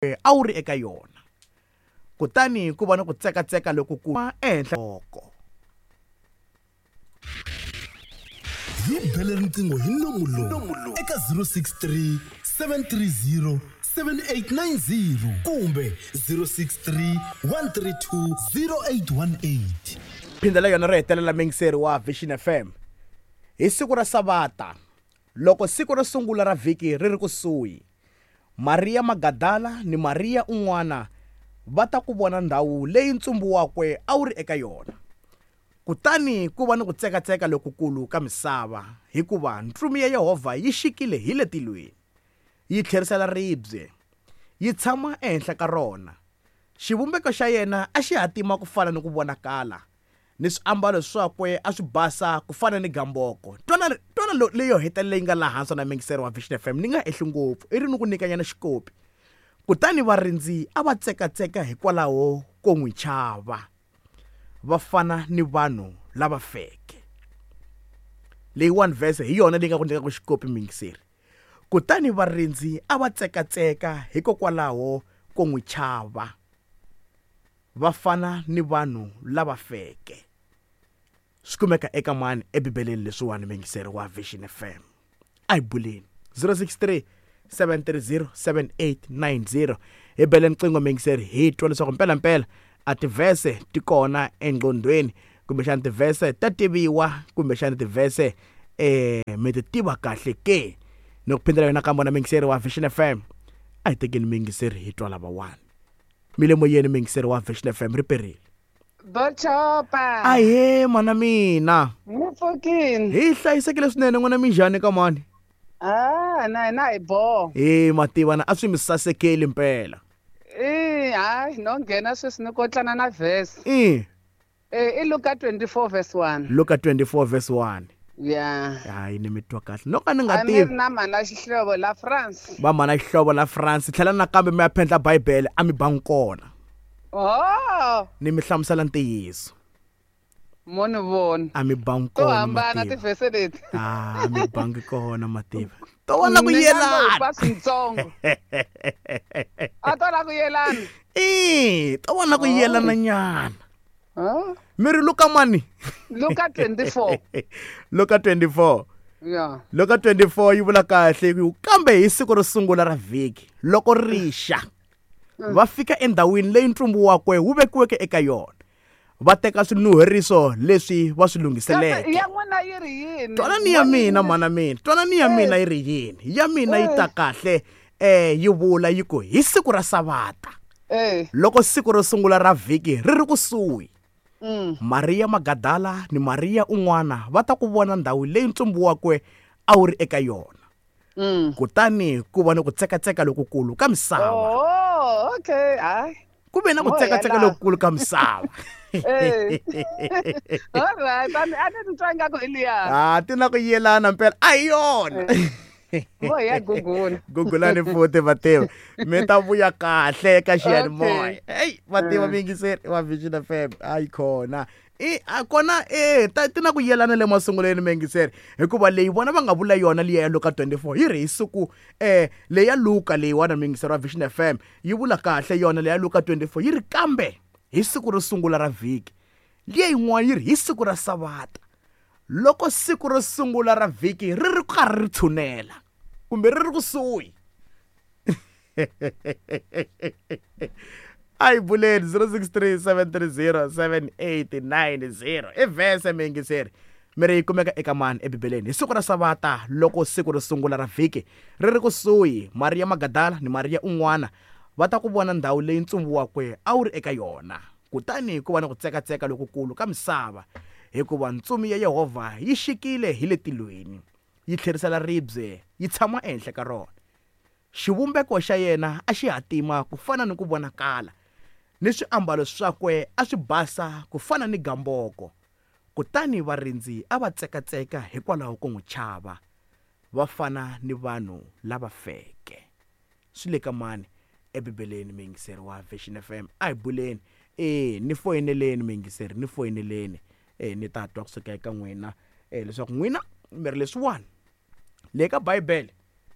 A wu ri eka yona. Kutani ku va ni ku tsekatseka lokukulu ehenhla oko. Hi bele riqingho hi nomu lowu eka 063 730 7890 kumbe 063 132 0818. Phindela yona ro hetelela muyingiseri wa Vision FM. Hi siku ra Savata, loko siku ro sungula ra vhiki ri ri kusuhi, Mariya Magadala ni Mariya un'wana va ta ku vona ndhawu leyi ntsumbu wakwe a wu ri eka yona. Kutani ku va ni ku tsekatseka lokukulu ka misava, hikuva ntsumi ya Yehovha yi xikile hi le tilweni, yi tlherisela ribye, yi tshama ehenhla ka rona. Xivumbeko xa yena a xi hatima ku fana ni ku vonakala, ni swiambalo swakwe a swi basa ku fana ni gamboko. Twana, twana lo, leyo hetelela yi nga laha hansi na muyingiseri wa Vision FM, ni nga ehli ngopfu, i ri ni ku nyikanyana xikopi. Kutani varindzi a va tsekatseka hikwalaho ko n'wi chava, va fana ni vanhu lava feke. Leyiwani verse hi yona leyi nga ku nyikaka xikopi muyingiseri. Kutani varindzi a va tsekatseka hikokwalaho ko n'wi chava. Va fana ni vanhu lava feke. Swi kumeka eka mani eBibeleni leswiwani muyingiseri wa Vision FM? A hi buleni. 063 730 7890 hi bele nqingho muyingiseri hi twa leswaku mpelampela a tivhese ti kona engqondweni kumbexana tivhese ta tiviwa kumbexana tivhese eh mi ti tiva kahle ke ni ku phindela yona kambe na muyingiseri wa Vision FM a hi tekeni muyingiseri hi twa lavawani mi le moyeni muyingiseri wa Vision FM ri perile. Bochopa. Ahee mana mina. Mi pfukini. Hi hlayisekile swinene n'wina minjhani ka mani? Ah, na hina hi boho. He mativa na a swi mi sasekeli mpela. Eh, hayi no nghena sweswi ni kotlana na verse. Eh. Eh, i Luka 24 verse 1. Luka 24 verse 1. Yeah. Hayi ni mi twa kahle. No ka ni nga A mi ri tivi. na mhana xihlovo la France. Va mhana xihlovo la France tlhela nakambe mi ya phendla Bibele a mi bangi kona. Oh, Ni mi hlamusela ntiyiso. mo ni vona. A mi bangi To kona hambana mativa. tivhese leti. Ah, a mi bangi kona mativa. To vona ku Ni nga lo yelana. pa swintsongo. A to la ku yelana. Eh, to vona ku yelana nyana. Huh? Mi ri Luka mani? Luka 24. Luka 24. Yeah. Luka 24 yi vula kahle ku kambe hi siku ro sungula ra vhiki loko ri xa va fika endhawini leyi ntsumbu wakwe wu vekiweke eka yona va teka swinuheriso leswi va swi lunghiseleke Ya n'wina yi ri yini? twanani ya mina mana mina twanani ya mina yi ri yini ya mina yi ta kahle eh yi vula yi ku hi siku ra savata Eh. loko siku ro sungula ra vhiki ri ri kusuhi Mariya Magadala ni Mariya un'wana va ta ku vona ndhawu leyi ntsumbu wakwe a wu ri eka yona. Kutani ku va ni ku tsekatseka lokukulu ka misava. Oh, okay. Hayi. Ku ve na ku Mo tsekatseka hela. lokukulu ka misava. Eh. All right. A ni a ni twa ingaku hi liya. Ah, ti na ku yelana mpela. A hi yona. Vo hi ya gugula. Gugulani futhi vativa. Mi ta vuya kahle eka xiyanimoya. Okay. Hey, vativa miyingiseri wa Vision FM. Hayi khona. I a kona eh ta ti na ku yelana le masungulweni miyingiseri hikuva leyi vona va nga vula yona liya ya Luka 24 yi ri hi siku eh leya Luka leyiwani miyingiseri wa Vision FM yi vula kahle yona leya Luka 24 yi ri kambe hi siku ro sungula ra vhiki liya yin'wana yi ri hi siku ra Savata loko siku ro sungula ra vhiki ri ri karhi ri tshunela kumbe ri ri kusuhi a hi buleni 063 730 7890 i vhese miyingiseri mi ri yi kumeka eka mani ebibeleni hi siku ra savata loko siku ro sungula ra vhiki ri ri kusuhi mariya magadala ni mariya un'wana va ta ku vona ndhawu leyi ntsumbu wakwe a wu ri eka yona kutani ku va ni ku tsekatseka lokukulu ka misava hikuva ntsumi ya Yehovha yi xikile hi le tilweni yi tlherisela ribye yi tshama ehenhla ka rona. Xivumbeko xa yena a xi hatima ku fana ni ku vonakala, ni swiambalo swakwe a swi basa ku fana ni gamboko. Kutani varindzi a va tsekatseka hikwalaho ko n'wi chava, va fana ni vanhu lava feke. Swi le ka mani eBibeleni muyingiseri wa Vision FM? A hi buleni. E, ni foyineleni muyingiseri, ni foyineleni. E, ni ta twa kusuka eka n'wina e, leswaku n'wina mi ri leswiwani le ka Bibele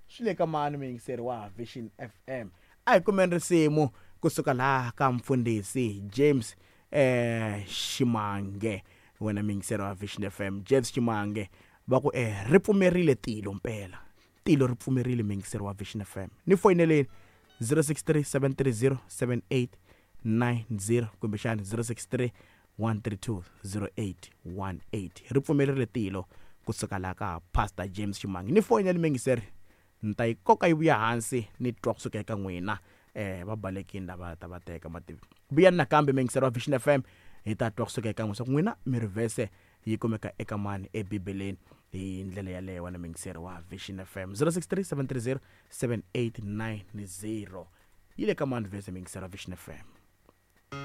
swi le ka mani muyingiseri wa Vision FM? A hi kumeni risimu kusuka laha ka mfundhisi James Ximange. Wena muyingiseri wa Vision FM, James Ximange va ku ri pfumerile tilo mpela. Tilo ri pfumerile, muyingiseri wa Vision FM. Ni foyineleni 063 730 7890 kumbexani 063 132 0818. Ri pfumerile tilo kusuka laha ka Pastor James Ximange. Ni foyineli muyingiseri, ni ta yi koka yi vuya hansi ni twa kusuka eka n'wina. Va balekini lava ta va teka mativi. Vuyani nakambe muyingiseri wa Vision FM, hi ta twa kusuka eka n'wina swa ku n'wina mi ri vhese yi kumeka eka mani ebibeleni hi ndlela yaleyo. Wena muyingiseri wa Vision FM, 063 730 7890, yi le ka mani vhese, muyingiseri wa Vision FM?